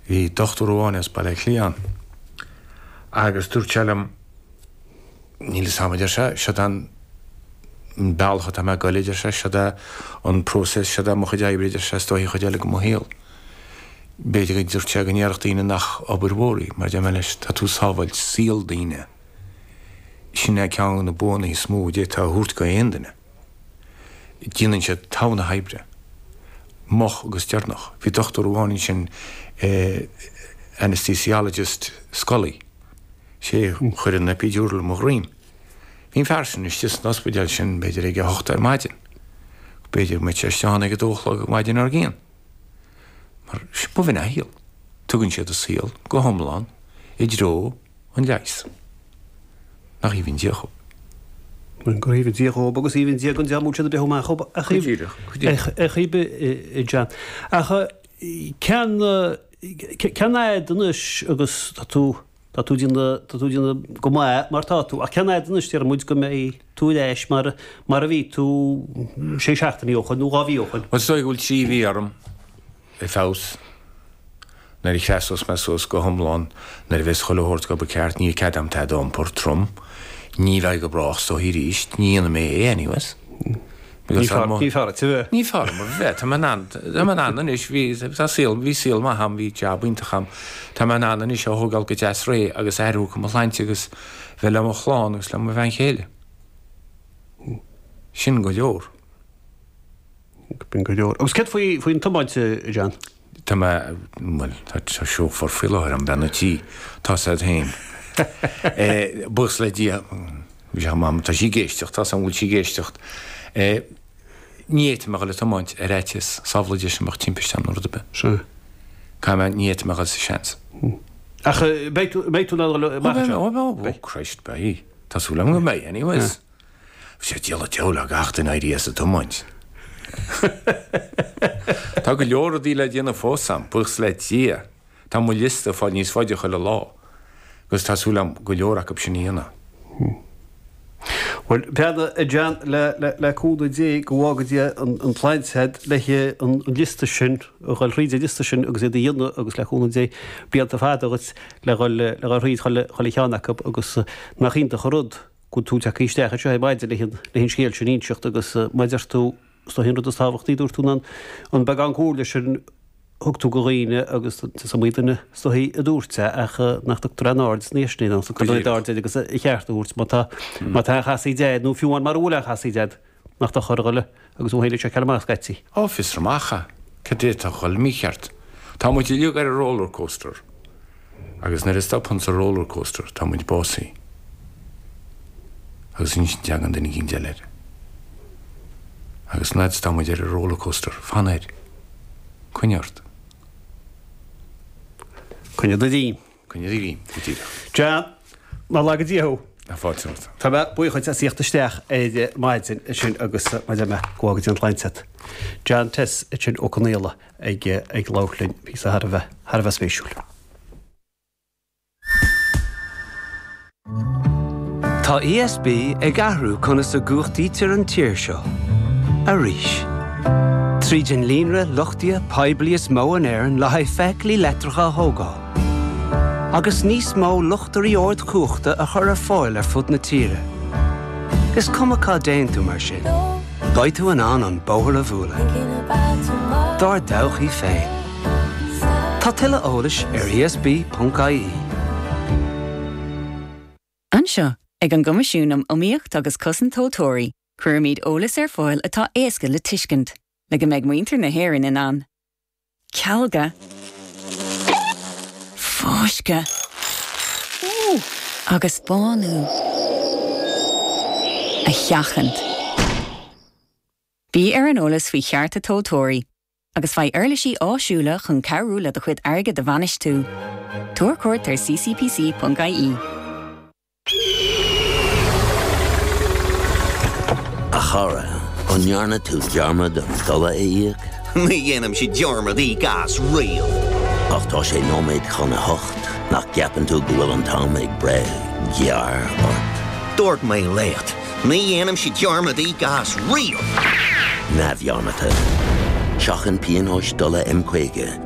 Bhí dochtúir amháin as Baile Átha Cliath ann agus dúirt sé liom, Níl fhios a'm, a deir sé, seod é an bealach atá mé ag goil, a deir sé, seod é an process, seod é mo chuid oibre, a deir sé, is dóichí an chuid eile de mo shaol. B'fhéidir go dúirt sé go ndéarfadh daoine nach obair mhór í, mar a deir mé leis, tá tú ag sábháilt saol daoine. Sin é ceann de na buanna is mó a d'fhéadfá a thabhairt go aon duine. Déanann siad togha na hoibre. Moch agus deireanach. Bhí dochtúir amháin ansin, anesthesiologist Scully. Sé a chuir an epidural i mo dhroim. Bhí an fear sin istigh san ospidéal sin b'fhéidir ag a hocht ar maidin. B'fhéidir go mbeadh sé istigh ann ag a dó a chlog ar maidin dár gcionn. Mar b'in a shaol. Tugann siad a saol go hiomlán i dtreo an leighis. Nach aoibhinn Dia dhób. Gur aoibhinn Dia dhób agus aoibhinn Dia don dream a bhfuil siad ag breith amach dhób a chaoi bith, John. Ach cén cén fhad anois agus tá tú tá tú déanamh tá tú déanamh go maith mar tá tú ach cén fhad anois déarfaidh muid go mbeidh tú ar ais mar mar a bhí tú sé seachtainí ó shoin nó 2 mhí ó shoin? Bhuel is dóigh go bhfuil 3 mhí orm. ar feabhas. Nuair a sheasós mé suas go hiomlán, nuair a bheas chuile shórt ag obair ceart, níl cead a'm tada a iompar trom. Ní bheidh go brách is dóichí arís. Ní dhéanfaidh mé é anyways. Ní fearr duit a bheith. Ní fearr dom a bheith. Tá mé in ann, tá mé in ann anois, bhí, tá saol, bhí saol maith a'm, bhí jab iontach a'm. Tá mé in ann anois a thógáil go deas réidh agus athrú chun mo shláinte agus bheith le mo chlann agus le mo bhean chéile. Sin go leor. B'in go leor. Agus céard faoi, faoin tiomáint, a John? Tá mé, bhuel, tá chauffeur faoi láthair a'm, bean an tí, tá 's a'd féin. Buíochas le Dia, bhí sé chomh maith, tá sí ag éisteacht, tá 's a'm go bhfuil sí ag éisteacht. Ní fhéadfaidh mé a dhul ag tiomáint ar fhaitíos, samhlaigh Dia sin mbeadh timpiste ann nó rud ar bith. Sea. Caithfidh mé, ní fhéadfaidh mé a dhul sa seans. Ach beidh tú, beidh tú in ann a dhul amach anseo? Ó, beidh, oh Christ, beidh. Tá súil agam go mbeidh, anyways. Bhí sé diabhal diabhal le gach duine éirí as an tiomáint. Tá go leor rudaí le déanamh fós a'm, buíochas le Dia. Tá mo liosta ag fáil níos faide chuile lá agus tá súil a'm go leor acu sin a dhéanamh. Bhuel, breathnaigh, a John, le, le, le cúnamh Dé go bhfága Dia an, an tsláinte a'd le an, an liosta sin, a dhul thríd an liosta sin agus iad a dhéanamh agus le cúnamh Dé blianta fada dhuit le dhul, le dhul thríd chuile, chuile cheann acu agus nach iontach an rud go bhfuil tú tagtha isteach anseo ar maidin leis an scéal sin a inseacht agus mar a deir tú, is dóichí an rud is tábhachtaí, dúirt tú, ná an beagán comhairle sin a thug tú go dhaoine agus is iomaí duine is dóichí a dúirt é ach nach dtugtar aon aird ina dhiaidh sin air, nach dtugtar an oiread aird air agus ba cheart a thabhairt má tá má tá aon chasaoid a'd nó fiú amháin mara bhfuil aon chasaoid a'd nach dochar a dhul agus thú féin a sheiceáil amach scaití. Ó, fiosraigh amach é. Cad é atá ag dhul mícheart? Tá muid uilig ar an rollercoaster. Agus nuair a stopanns an rollercoaster, tá muid básaithe. Agus ansin teagann duine eicínt eile air. Agus an fhad is atá muid ar an rollercoaster, fan air. Coinnigh ort. Coinnigh do dhreim. Coinnigh do dhreim, go díreach. John, Nár laga Dia thú. Tá fáilte romhat. Tá mé buíoch dhuit as a thíocht isteach ar maidin ansin agus mar a deir mé, go bhfága Dia an tsláinte agat. John Tess ansin Ó Conaola ag ag labhairt linn, píosa thar a bheith, thar a bheith spéisiúil. Tá ESB ag athrú conas a gcumhachtaítear an tír seo. Arís. Tríd an líonra luchtaithe poiblí is mó in Éirinn le haghaidh feithiclí leictreacha a thógáil. Agus níos mó luchtairí ardchumhachta a chur ar fáil ar fud na tíre. Is cuma cá dtéann tú mar sin, beidh tú in ann an bóthar a bhualadh. Dár dtodhchaí féin. Tá tuilleadh eolais ar esb.ie. Anseo, ag an gCoimisiún um Iomaíocht agus Cosaint Tomhaltóirí, cuirimid eolas ar fáil atá éasca le tuiscint, le go mbeidh muintir na hÉireann in ann cealga, fáisceadh agus bánú a sheachaint. Bí ar an eolas faoi chearta tomhaltóirí agus faigh uirlisí áisiúla chun cabhrú le do chuid airgid a bhainistiú. Tabhair cuairt ar ccpc.ie. A chara, an ndearna tú dearmad an dola a íoc? Ní dhéanaimse dearmad íoc as riamh. Ach tá sé nóiméad chun a hocht, nach gceapann tú go bhfuil an t-am ag breith gearr ort? Dúirt mé leat, ní dhéanaimse dearmad íoc as riamh! Neamhdhearmadta. Seachain pionóis dola M50.